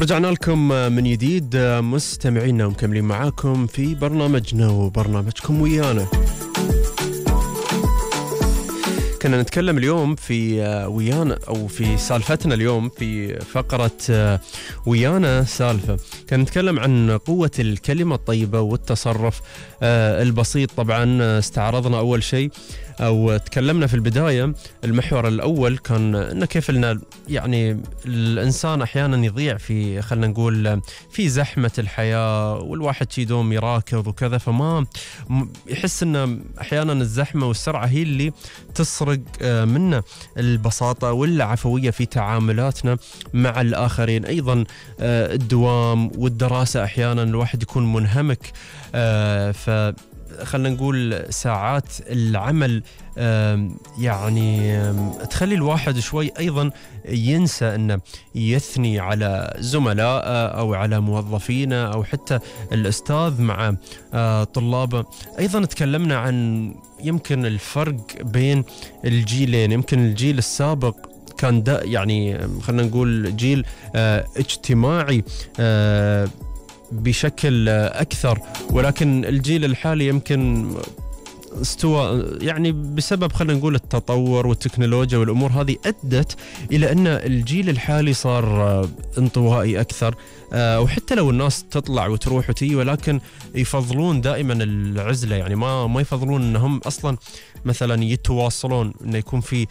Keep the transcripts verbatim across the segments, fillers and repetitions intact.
رجعنا لكم من جديد مستمعينا ومكملين معاكم في برنامجنا وبرنامجكم ويانا. كنا نتكلم اليوم في ويانا أو في سالفتنا اليوم في فقرة ويانا سالفة، كنا نتكلم عن قوة الكلمة الطيبة والتصرف البسيط. طبعا استعرضنا أول شيء أو تكلمنا في البداية، المحور الأول كان إنه كيف لنا يعني الإنسان أحيانا يضيع في خلنا نقول في زحمة الحياة، والواحد يدوم يراكض وكذا، فما يحس إنه أحيانا الزحمة والسرعة هي اللي تسرق منا البساطة والعفوية في تعاملاتنا مع الآخرين. أيضا الدوام والدراسة أحيانا الواحد يكون منهمك، ف خلنا نقول ساعات العمل يعني تخلي الواحد شوي أيضا ينسى أنه يثني على زملاء أو على موظفين أو حتى الأستاذ مع طلابه. أيضا تكلمنا عن يمكن الفرق بين الجيلين. يمكن الجيل السابق كان دا يعني خلنا نقول جيل اجتماعي بشكل أكثر، ولكن الجيل الحالي يمكن استوى يعني بسبب خلينا نقول التطور والتكنولوجيا والأمور هذه أدت إلى أن الجيل الحالي صار انطوائي أكثر، وحتى لو الناس تطلع وتروح وتيجي ولكن يفضلون دائما العزلة، يعني ما ما يفضلون أنهم أصلا مثلا يتواصلون، أنه يكون في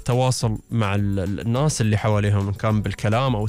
تواصل مع الناس اللي حواليهم، كان بالكلام أو